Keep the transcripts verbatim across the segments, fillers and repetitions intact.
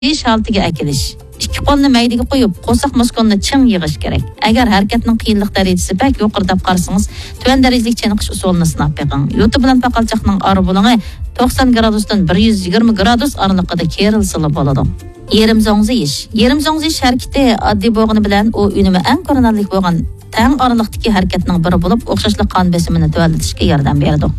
يېيىش ھالىتىگە ئەكېلىش. ئىككى قولنى مەيدىگە قويۇپ، قورساق مۇسكۇلىنى چىڭ يىغىش كېرەك. ئەگەر ھەرىكەتنىڭ قىيىنلىق دەرىجىسى بەك يۇقىرى دەپ قارىسىڭىز، تۆۋەن دەرىجىلىك چېنىقىش ئۇسۇلىنى سىناپ بېقىڭ. يوتا بىلەن پاقالچاقنىڭ ئارا بۇلۇڭى توقسان گرادۇستىن بىر يۈز يىگىرمە گرادۇس ئارىلىقىدا كېرىلسىلا بولىدۇ. يېرىم زوڭزىيىش. يېرىم زوڭزىيىش ھەرىكىتى ئاددىي بولغىنى بىلەن، ئۇ ئۈنۈمى ئەڭ كۆرۈنەرلىك بولغان تەڭ ئارىلىقتىكى ھەرىكەتنىڭ بىرى بولۇپ، ئوخشاشلا قان بېسىمىنى تۆۋەنلىتىشكە ياردەم بېرىدۇ.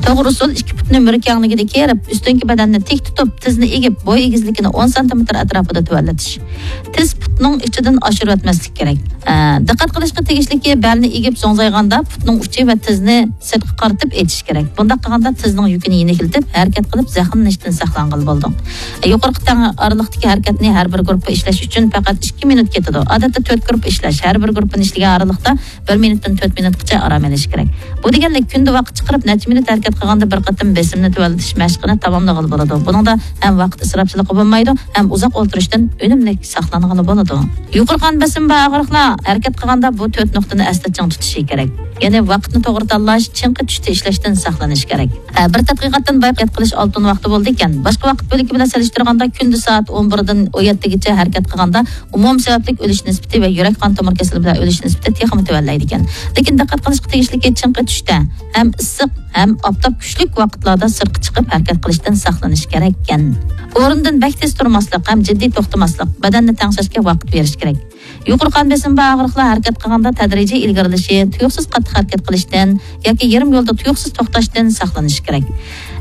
توغرا ئۇسۇل، ئىككى پۇتنى مۈرە كەڭلىكىدە كېرىپ، ئۈستۈنكى بەدەننى تىك تۇتۇپ، تىزنى ئېگىپ، بوي ئېگىزلىكىنى ئون سانتىمېتىر ئەتراپىدا تۆۋەنلىتىش. تىز پۇتنىڭ ئىچىدىن ئاشۇرۇۋەتمەسلىك كېرەك. ئە، دىققەت قىلىشقا تېگىشلىكى، بەلنى ئېگىپ زوڭزايغاندا پۇتنىڭ ئۇچى ۋە تىزنى سىرتقا قارىتىپ ئېچىش كېرەك. بۇنداق قىلغاندا تىزنىڭ يۈكىنى يېنىكلىتىپ، ھەرىكەت قىلىپ زەخىملىنىشتىن ساقلانغىلى بولىدۇ. يۇقىرىقى تەڭ ئارىلىقتىكى ھەرىكەتنى ھەر بىر گۇرۇپپا ئىشلەش ئۈچۈن پەقەت ئىككى مىنۇت كېتىدۇ. ئادەتتە تۆت گۇرۇپپا ئىشلەش، ھەر بىر گۇرۇپپىنى ئىشلىگەن ئارىلىقتا بىر مىنۇتتىن تۆت مىنۇتقىچە ئارام ئېلىش كېرەك. بۇ دېگەنلىك، كۈندە ۋاقىت چىقىرىپ نەچچە مىنۇت ھەرىكەت قىلغاندا بىر قېتىم بېسىمنى تۆۋەنلىتىش مەشقىنى تاماملىغىلى بولىدۇ. بۇنىڭدا ھەم ۋاقىت ئىسراپچىلىقى بولمايدۇ، ھەم ئۇزاق ئولتۇرۇشتىن ئۈنۈملۈك ساقلانغىلى بولىدۇ. يۇقىرى قان بېسىمى بار ئاغرىقلار ھەرىكەت قىلغاندا بۇ تۆت نۇقتىنى ئەستە چىڭ تۇتۇشى كېرەك. يەنى ۋاقىتنى توغرا تاللاش، چىڭقى تۈستە ئىشلەشتىن ساقلىنىش كېرەك. ئە، بىر تەتقىقاتتىن بايان قىلىش ئالتۇن ۋاقتى بولىدىكەن. باشقا ۋاقىت بۆلىكى بىلەن سېلىشتۇرغاندا كۈندە سائەت ئون بىردىن ئون يەتتىگىچە ھەرىكەت قىلغاندا ئومۇمىي سەۋەبلىك ئۆلۈش نىسبىتى ۋە يۈرەك قان تومۇر كېسىلى بىلەن ئۆلۈش نىسبىتى تېخىمۇ تۆۋەنلەيدىكەن. لېكىن دىققەت قىلىشقا تېگىشلىكى، چىڭقى تۈستە، ھەم ئىسسىق، ھەم ئاپتاپ كۈچلۈك ۋاقىتلاردا سىرتقا چىقىپ ھەرىكەت قىلىشتىن ساقلىنىش كېرەككەن. ئورنىدىن بەك تېز تۇرماسلىق ھەم جىددىي توختىماسلىق، بەدەننى تەڭشەشكە ۋاقىت بېرىش كېرەك. يۇقىرى قان بېسىمى بار ئاغرىقلار ھەرىكەت قىلغاندا تەدرىجىي ئىلگىرىلىشى، تۇيۇقسىز قاتتىق ھەرىكەت قىلىشتىن ياكى يېرىم يولدا تۇيۇقسىز توختاشتىن ساقلىنىش كېرەك.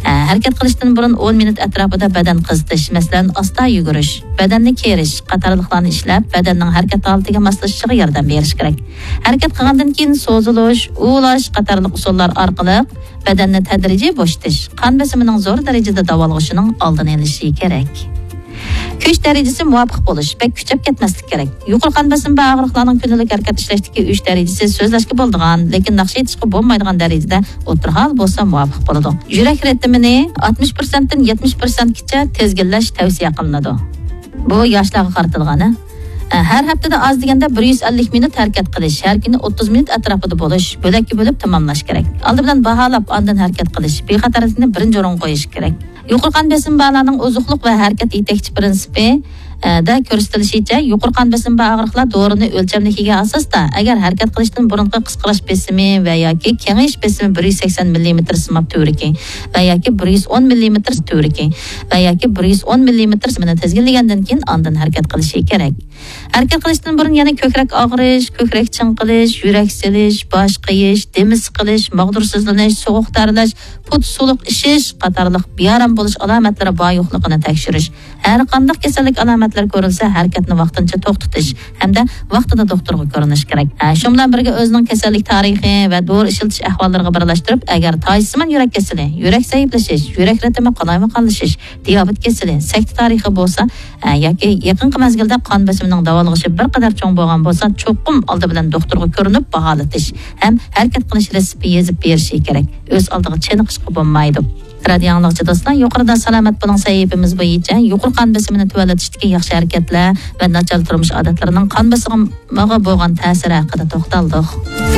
ئە، ھەرىكەت قىلىشتىن بۇرۇن ئون مىنۇت ئەتراپىدا بەدەن قىزىتىش، مەسىلەن، ئاستا يۈگۈرۈش، بەدەننى كېرىش قاتارلىقلارنى ئىشلەپ، بەدەننىڭ ھەرىكەت ھالىتىگە ماسلىشىشىغا ياردەم بېرىش كېرەك. ھەرىكەت قىلغاندىن كېيىن سوزۇلۇش، ئۇۋۇلاش قاتارلىق ئۇسۇللار ئارقىلىق بەدەننى تەدرىجىي بوشىتىش، قان بېسىمىنىڭ زور دەرىجىدە داۋالغۇشىنىڭ ئالدىنى ئېلىشى كېرەك. كۈچ دەرىجىسى مۇۋاپىق بولۇش، بەك كۈچەپ كەتمەسلىك كېرەك. يۇقىرى قان بېسىمى بار ئاغرىقلارنىڭ كۈندىلىك ھەرىكەت ئىشلەشتىكى كۈچ دەرىجىسى سۆزلەشكە بولىدىغان، لېكىن ناخشا ئېيتىشقا بولمايدىغان دەرىجىدە ئوتتۇرا ھال بولسا مۇۋاپىق بولىدۇ. يۈرەك رىتىمىنى ئاتمىش پىرسەنتتىن يەتمىش پىرسەنتكىچە تىزگىنلەش تەۋسىيە قىلىنىدۇ. بۇ ياشلارغا قارىتىلغان. ھە، ھەر ھەپتىدە ئاز دېگەندە بىر يۈز ئەللىك مىنۇت ھەرىكەت قىلىش، ھەر كۈنى ئوتتۇز مىنۇت ئەتراپىدا بولۇش، بۆلەككە بۆلۈپ تاماملاش كېرەك. ئالدى بىلەن باھالاپ، ئاندىن ھەرىكەت قىلىش، بىخەتەرلىكنى بىرىنچى ئورۇنغا قويۇش كېرەك. يۇقىرى قان بېسىمى بارلارنىڭ ئوزۇقلۇق ۋە ھەرىكەت يېتەكچى پىرىنسىپى، ئە، دە كۆرسىتىلىشىچە، يۇقىرى قان بېسىمى بار ئاغرىقلار دورىنى ئۆلچەملىك يېگەن ئاساستا، ئەگەر ھەرىكەت قىلىشتىن بۇرۇنقى قىسقىراش بېسىمى ۋە ياكى كېڭىيىش بېسىمى بىر يۈز سەكسەن مىللىمېتىر سىماب تۈۋرۈكى ۋە ياكى بىر يۈز ئون مىللىمېتىر تۈۋرۈكى ۋە ياكى بىر يۈز ئون مىللىمېتىر بېسىمىنى تىزگىنلىگەندىن كېيىن ئاندىن ھەرىكەت قىلىشى كېرەك. ھەرىكەت قىلىشتىن بۇرۇن يەنە كۆكرەك ئاغرىش، كۆكرەك چىڭقىلىش، يۈرەك سېلىش، باش قېيىش، دېمى سىقىلىش، ماغدۇرسىزلىنىش، سوغۇق تەرلەش، پۇت سۇلۇق ئىشىش قاتارلىق بىئارام بولۇش ئالامەتلىرى بار يوقلۇقىنى تەكشۈرۈش. ھەر قانداق كېسەللىك ئالامەتلىرى كۆرۈلسە، ھەرىكەتنى ۋاقتىنچە توختىتىش ھەمدە ۋاقتىدا دوختۇرغا كۆرۈنۈش كېرەك. ھە، شۇ بىلەن بىرگە ئۆزىنىڭ كېسەللىك تارىخى ۋە دورا ئىشلىتىش ئەھۋاللىرىغا بىرلەشتۈرۈپ، ئەگەر تايىشىسىمان يۈرەك كېسىلى، يۈرەك زەئىپلىشىش، يۈرەك رىتىمى قالايمىقانلىشىش، دىيابېت كېسىلى، سەكتە تارىخى بولسا، ھە، ياكى يېقىنقى مەزگىلدە قان بېسىمىنىڭ داۋالغۇشى بىر قەدەر چوڭ بولغان بولسا، چوقۇم ئالدى بىلەن دوختۇرغا كۆرۈنۈپ باھالىتىش ھەم ھەرىكەت قىلىش رېتسېپى يېزىپ بېرىشى كېرەك. ئۆز ئالدىغا چېنىقىشقا بولمايدۇ. رادىيو ئاڭلىغۇچى دوستلار، يۇقىرىدا سالامەت بولۇڭ سەھىپىمىز بويىچە يۇقىرى قان بېسىمىنى تۆۋەنلىتىشتىكى ياخشى ھەرىكەتلەر ۋە ناچار تۇرمۇش ئادەتلىرىنىڭ قان بېسىمىغا بولغان تەسىرى ھەققىدە توختالدۇق.